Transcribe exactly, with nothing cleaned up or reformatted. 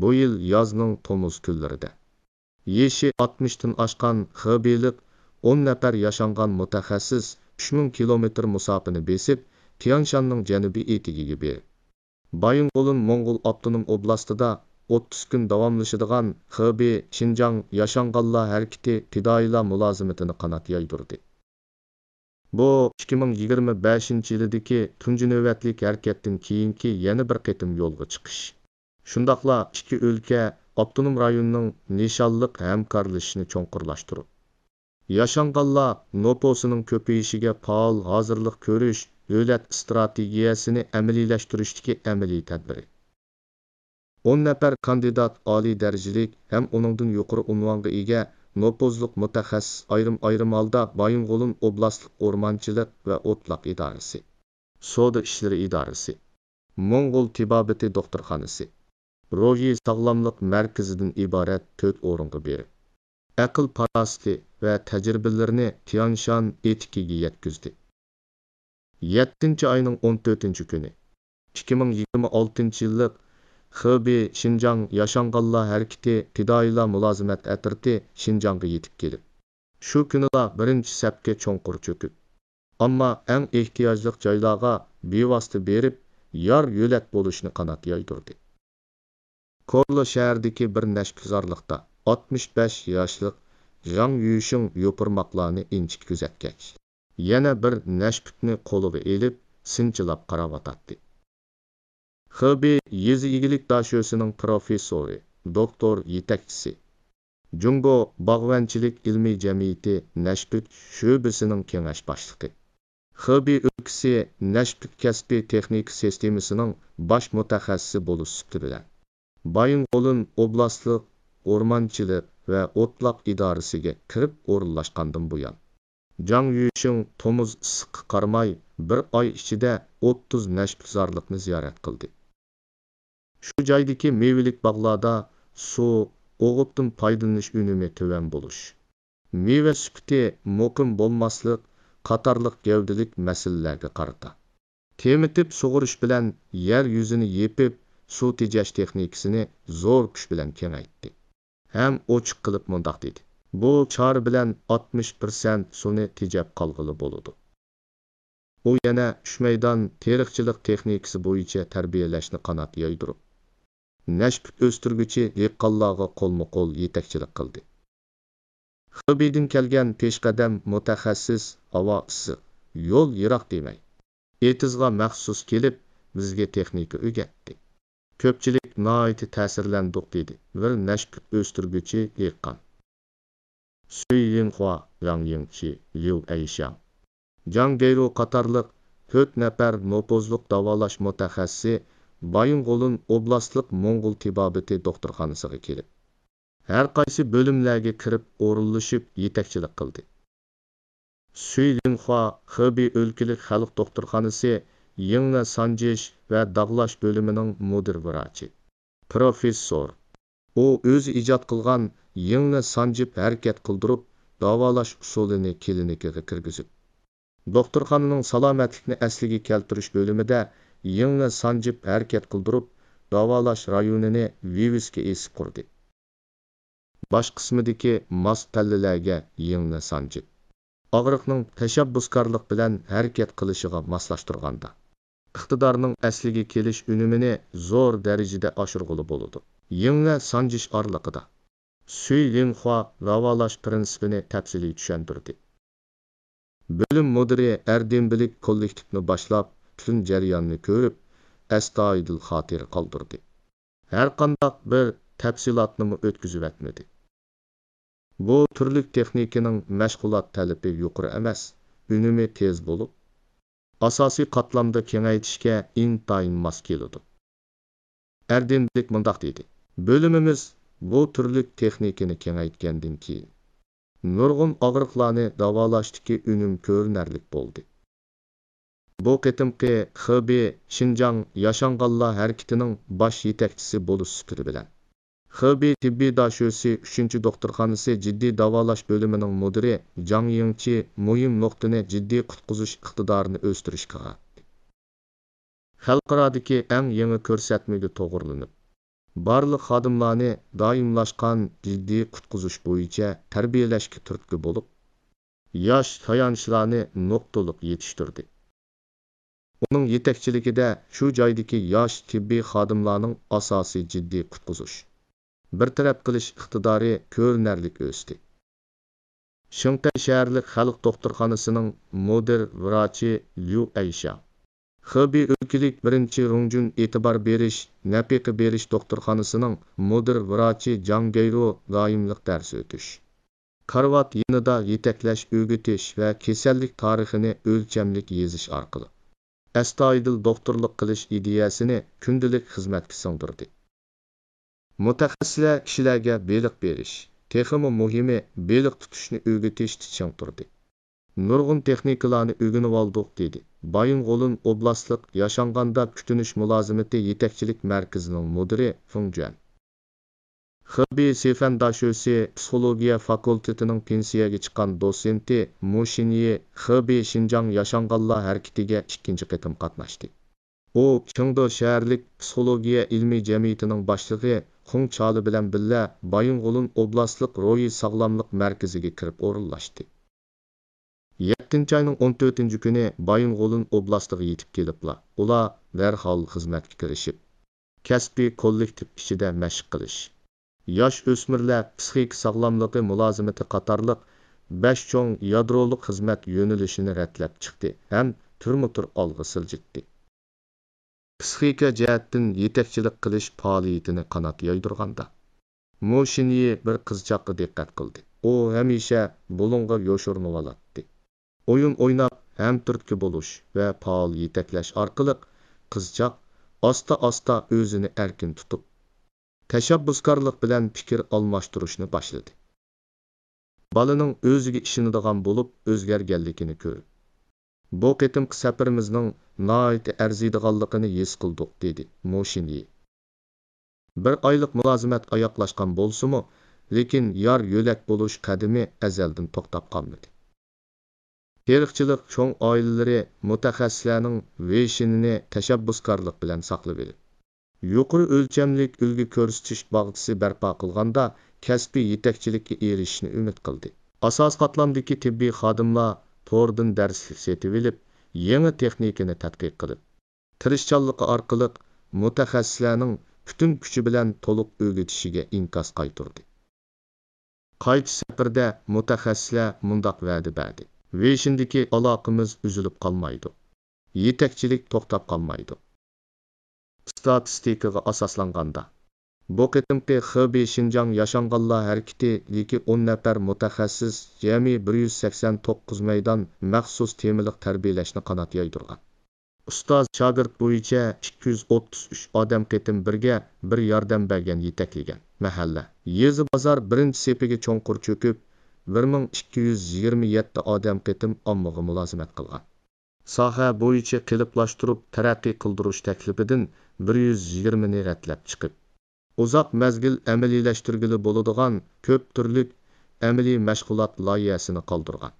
بۇ يىل يازنىڭ تومۇز كۈنلىرىدە يېشى ئاتمىشتىن ئاشقان خېبېيلىق ئون نەپەر ياشانغان مۇتەخەسسىس ئۈچ مىڭ كىلومېتىر مۇساپىنى بېسىپ، تيەنشاننىڭ جەنۇبىي ئېتىكىگە بېرىپ، بايىنغولىن موڭغۇل ئاپتونوم ئوبلاستىدا ئوتتۇز كۈن داۋاملىشىدىغان خېبېي شىنجاڭ ياشانغانلار ھەرىكىتى پىدائىيلار مۇلازىمىتىنى قانات يايدۇردى. بۇ ئىككى مىڭ يىگىرمە بەشىنچى يىلىدىكى تۇنجى نۆۋەتلىك ھەرىكەتتىن كېيىنكى يەنە بىر قېتىم يولغا چىقىش. شۇنداقلا ئىككى ئۆلكە، ئاپتونوم رايوننىڭ نىشانلىق ھەمكارلىشىشىنى چوڭقۇرلاشتۇرۇپ، ياشانغانلار نوپۇسىنىڭ كۆپىيىشىگە پائال ھازىرلىق كۆرۈش دۆلەت ئىستراتېگىيەسىنى ئەمەلىيلەشتۈرۈشتىكى ئەمەلىي تەدبىرى. ئون نەپەر كاندىدات ئالىي دەرىجىلىك ھەم ئۇنىڭدىن يۇقىرى ئۇنۋانغا ئىگە نوپۇزلۇق مۇتەخەسسىس ئايرىم-ئايرىم ھالدا بايىنغولىن ئوبلاستلىق ئورمانچىلىق ۋە ئوتلاق ئىدارىسى، سودا ئىشلىرى ئىدارىسى، موڭغۇل تېبابىتى دوختۇرخانىسى، روھىي ساغلاملىق مەركىزىدىن ئىبارەت تۆت ئورۇنغا بېرىپ، ئەقىل-پاراسىتى ۋە تەجرىبىلىرىنى تيەنشان ئېتىكىگە يەتكۈزدى. يەتتىنچى ئاينىڭ ئون تۆتىنچى كۈنى، ئىككى مىڭ يىگىرمە ئالتىنچى يىللىق خېبېي شىنجاڭ ياشانغانلار ھەرىكىتى پىدائىيلار مۇلازىمەت ئەترىتى شىنجاڭغا يېتىپ كېلىپ، شۇ كۈنىلا بىرىنچى سەپكە چوڭقۇر چۆكۈپ، ئامما ئەڭ ئېھتىياجلىق جايلارغا بىۋاسىتە بېرىپ، يار-يۆلەك بولۇشنى قانات يايدۇردى. كورلا شەھىرىدىكى بىر نەشپۈتزارلىقتا ئاتمىش بەش ياشلىق ژاڭ يۈشىڭ يوپۇرماقلارنى ئىنچىكە كۆزەتكەچ، يەنە بىر نەشپۈتنى قولىغا ئېلىپ، سىنچىلاپ قاراۋاتاتتى. خېبېي يېزا ئىگىلىك داشۆسىنىڭ پروفېسسورى، دوكتور يېتەكچىسى، جۇڭگو باغۋەنچىلىك ئىلمىي جەمئىيىتى نەشپۈت شۆبىسىنىڭ كېڭەش باشلىقى، خېبېي ئۆلكىسى نەشپۈت كەسپىي تېخنىكا سىستېمىسىنىڭ باش مۇتەخەسسىسى بولۇش سۈپىتى بىلەن، بايىنغولىن ئوبلاستلىق ئورمانچىلىق ۋە ئوتلاق ئىدارىسىگە كىرىپ ئورۇنلاشقاندىن بۇيان، جاڭ يۈشىڭ تومۇز ئىسسىققا قارىماي، بىر ئاي ئىچىدە ئوتتۇز نەشپۈتزارلىقنى زىيارەت قىلدى. شۇ جايدىكى مېۋىلىك باغلاردا سۇ، ئوغۇتتىن پايدىلىنىش ئۈنۈمى تۆۋەن بولۇش، مېۋە سۈپىتى مۇقىم بولماسلىق قاتارلىق گەۋدىلىك مەسىلىلەرگە قارىتا، تېمىتىپ سۇغۇرۇش بىلەن يەر يۈزىنى يېپىپ، سۇ تېجەش تېخنىكىسىنى زور كۈچ بىلەن كېڭەيتتى ھەم ئوچۇق قىلىپ مۇنداق دېدى: «بۇ چارە بىلەن ئاتمىش پىرسەنت سۇنى تېجەپ قالغىلى بولىدۇ.» ئۇ يەنە ئۈچ مەيدان تېرىقچىلىق تېخنىكىسى بويىچە تەربىيەلەشنى قانات يايدۇرۇپ، نەشپۈت ئۆستۈرگۈچى دېھقانلارغا قولمۇ قول يېتەكچىلىك قىلدى. خېبېيدىن كەلگەن پېشقەدەم مۇتەخەسسىس ھاۋا ئىسسىق، يول يىراق دېمەي، ئېتىزغا مەخسۇس كېلىپ، بىزگە تېخنىكا ئۆگەتتى. كۆپچىلىك ناھايىتى تەسىرلەندۇق، دېدى بىر نەشپۈت ئۆستۈرگۈچى دېھقان. سۈي لىنخۇا، ۋاڭ يىڭچى، ليۇ ئەيشياڭ، جاڭ گەيرۇ قاتارلىق تۆت نەپەر نوپۇزلۇق داۋالاش مۇتەخەسسىسى بايىنغولىن ئوبلاستلىق موڭغۇل تېبابىتى دوختۇرخانىسىغا كېلىپ، ھەر قايسى بۆلۈملەرگە كىرىپ ئورۇنلىشىپ يېتەكچىلىك قىلدى. سۈي لىنخۇا خېبېي ئۆلكىلىك خەلق دوختۇرخانىسى يىڭنە سانجىش ۋە داغلاش بۆلۈمىنىڭ مۇدىر ۋراچى، پروفېسسور. ئۇ ئۆزى ئىجاد قىلغان يىڭنە سانجىپ ھەرىكەت قىلدۇرۇپ داۋالاش ئۇسۇلىنى كىلىنىكىغا كىرگۈزۈپ، دوختۇرخانىنىڭ سالامەتلىكنى ئەسلىگە كەلتۈرۈش بۆلۈمىدە يىڭنە سانجىپ ھەرىكەت قىلدۇرۇپ داۋالاش رايونىنى ۋىۋىسكا ئېسىپ قۇردى. باش قىسمىدىكى ماس پەللىلەرگە يىڭنە سانجىپ، ئاغرىقنىڭ تەشەببۇسكارلىق بىلەن ھەرىكەت قىلىشىغا ماسلاشتۇرغاندا، ئىقتىدارنىڭ ئەسلىگە كېلىش ئۈنۈمىنى زور دەرىجىدە ئاشۇرغىلى بولىدۇ. يىڭنە سانجىش ئارىلىقىدا سۈي لىنخۇا داۋالاش پىرىنسىپىنى تەپسىلىي چۈشەندۈردى. بۆلۈم مۇدىرى ئەردىنبىلىك كوللېكتىپنى باشلاپ، پۈتۈن جەرياننى كۆرۈپ، ئەستايىدىل خاتىرە قالدۇردى. ھەرقانداق بىر تەپسىلاتنىمۇ ئۆتكۈزۈۋەتمىدى. بۇ تۈرلۈك تېخنىكىنىڭ مەشغۇلات تەلىپى يۇقىرى ئەمەس، ئۈنۈمى تېز بولۇپ، ئاساسىي قاتلامدا كېڭەيتىشكە ئىنتايىن ماس كېلىدۇ. ئەردىنبىلىك مۇنداق دېدى: «بۆلۈمىمىز بۇ تۈرلۈك تېخنىكىنى كېڭەيتكەندىن كېيىن، نۇرغۇن ئاغرىقلارنى داۋالاشتىكى ئۈنۈم كۆرۈنەرلىك بولدى.» بۇ قېتىمقى خېبېي شىنجاڭ ياشانغانلار ھەرىكىتىنىڭ باش يېتەكچىسى بولۇش سۈپىتى بىلەن، خېبېي تېببىي داشۆسى ئۈچىنچى دوختۇرخانىسى جىددىي داۋالاش بۆلۈمىنىڭ مۇدىرى جاڭ يىڭچى مۇھىم نۇقتىنى جىددىي قۇتقۇزۇش ئىقتىدارىنى ئۆستۈرۈشكە قاراتتى. خەلقئارادىكى ئەڭ يېڭى كۆرسەتمىگە توغرىلىنىپ، بارلىق خادىملارنى دائىملاشقان جىددىي قۇتقۇزۇش بويىچە تەربىيەلەشكە تۈرتكە بولۇپ، ياش تايانچلارنى نۇقتىلىق يېتىشتۈردى. ئۇنىڭ يېتەكچىلىكىدە شۇ جايدىكى ياش تېببىي خادىملارنىڭ ئاساسىي جىددىي قۇتقۇزۇش، بىر تەرەپ قىلىش ئىقتىدارى كۆرۈنەرلىك ئۆستى. شېڭتەي شەھەرلىك خەلق دوختۇرخانىسىنىڭ مۇدىر ۋراچى ليۇ ئەيشياڭ، خېبېي ئۆلكىلىك بىرىنچى رۇڭجۈن ئېتىبار بېرىش، نەپىقە بېرىش دوختۇرخانىسىنىڭ مۇدىر ۋراچى جاڭ گەيرو دائىملىق دەرس ئۆتۈش، كارىۋات يېنىدا يېتەكلەش، ئۆگىتىش ۋە كېسەللىك تارىخىنى ئۆلچەملىك يېزىش ئارقىلىق، ئەستايىدىل دوختۇرلۇق قىلىش ئىدىيەسىنى كۈندىلىك خىزمەتكە سىڭدۈردى. مۇتەخەسسىسلەر كىشىلەرگە بېلىق بېرىش، تېخىمۇ مۇھىمى، بېلىق تۇتۇشنى ئۆگىتىشتە چىڭ تۇردى. نۇرغۇن تېخنىكىلارنى ئۆگىنىۋالدۇق، دېدى بايىنغولىن ئوبلاستلىق ياشانغاندا كۈتۈنۈش مۇلازىمىتى يېتەكچىلىك مەركىزىنىڭ مۇدىرى فېڭ جۈەن. خېبېي سىفەن داشۆسى پسىخولوگىيە فاكۇلتېتىنىڭ پېنسىيەگە چىققان دوتسېنتى مۇ شىنيى خېبېي شىنجاڭ ياشانغانلار ھەرىكىتىگە ئىككىنچى قېتىم قاتناشتى. ئۇ چېڭدۇ شەھەرلىك پسىخولوگىيە ئىلمىي جەمئىيىتىنىڭ باشلىقى خۇڭ چالى بىلەن بىللە بايىنغولىن ئوبلاستلىق روھىي ساغلاملىق مەركىزىگە كىرىپ ئورۇنلاشتى. يەتتىنچى ئاينىڭ ئون تۆتىنچى كۈنى بايىنغولىن ئوبلاستىغا يېتىپ كېلىپلا، ئۇلار دەرھال خىزمەتكە كىرىشىپ، كەسپىي كوللېكتىپ ئىچىدە مەشىق قىلىش، ياش ئۆسمۈرلەر پىسخىكا ساغلاملىقى مۇلازىمىتى قاتارلىق بەش چوڭ يادرولۇق خىزمەت يۆنىلىشىنى رەتلەپ چىقتى ھەم تۈرمە تۈر ئالغا سىلجىتتى. پىسخىكا جەھەتتىن يېتەكچىلىك قىلىش پائالىيىتىنى قانات يايدۇرغاندا، مۇ شىنيى بىر قىزچاققا دىققەت قىلدى. ئۇ ھەمىشە بۇلۇڭغا يوشۇرۇنۇۋالاتتى. ئويۇن ئويناپ، ھەمتۈرتكە بولۇش ۋە پائال يېتەكلەش ئارقىلىق قىزچاق ئاستا-ئاستا ئۆزىنى ئەركىن تۇتۇپ، تەشەببۇسكارلىق بىلەن پىكىر ئالماشتۇرۇشنى باشلىدى. بالىنىڭ ئۆزىگە ئىشىنىدىغان بولۇپ ئۆزگەرگەنلىكىنى كۆرۈپ، بۇ قېتىمقى سەپىرىمىزنىڭ ناھايىتى ئەرزىيدىغانلىقىنى ھېس قىلدۇق، دېدى مۇ شىنيى. بىر ئايلىق مۇلازىمەت ئاياغلاشقان بولسىمۇ، لېكىن يار يۆلەك بولۇش قەدىمى ئەزەلدىن توختاپ قالمىدى. تېرىقچىلىق چوڭ ئائىلىلىرى مۇتەخەسسىسلەرنىڭ ۋېيشىنىنى تەشەببۇسكارلىق بىلەن ساقلىۋېلىپ، يۇقىرى ئۆلچەملىك ئۈلگە كۆرسىتىش باغچىسى بەرپا قىلغاندا، كەسپىي يېتەكچىلىككە ئېرىشىشنى ئۈمىد قىلدى. ئاساسىي قاتلامدىكى تېببىي خادىملار توردىن دەرسلىك سېتىۋېلىپ، يېڭى تېخنىكىنى تەتقىق قىلىپ، تىرىشچانلىقى ئارقىلىق مۇتەخەسسىسلەرنىڭ پۈتۈن كۈچى بىلەن تولۇق ئۆگىتىشىگە ئىنكاس قايتۇردى. قايتىش سەپىرىدە مۇتەخەسسىسلەر مۇنداق ۋەدە بەردى: ۋېيشىندىكى ئالاقىمىز ئۈزۈلۈپ قالمايدۇ. يېتەكچىلىك توختاپ قالمايدۇ. ئىستاتىستىكىغا ئاساسلانغاندا، بۇ قېتىمقى خېبېي شىنجاڭ ياشانغانلار ھەرىكىتى يىگىرمە نەپەر مۇتەخەسسىس جەمئىي بىر يۈز سەكسەن توققۇز مەيدان مەخسۇس تېمىلىق تەربىيەلەشنى قانات يايدۇرغان. ئۇستاز شاگىرت بويىچە ئىككى يۈز ئوتتۇز ئۈچ ئادەم قېتىم بىرگە بىر ياردەم بەرگەن، يېتەكلىگەن. مەھەللە، يېزا، بازار بىرىنچى سېپىگە چوڭقۇر چۆكۈپ، بىر مىڭ ئىككى يۈز يىگىرمە يەتتە ئادەم قېتىم ئاممىغا مۇلازىمەت قىلغان. ساھە بويىچە قېلىپلاشتۇرۇپ تەرەققىي قىلدۇرۇش تەكلىپىدىن بىر يۈز يىگىرمىنى رەتلەپ چىقىپ، ئۇزاق مەزگىل ئەمەلىيلەشتۈرگىلى بولىدىغان كۆپ تۈرلۈك ئەمەلىي مەشغۇلات لايىھەسىنى قالدۇرغان.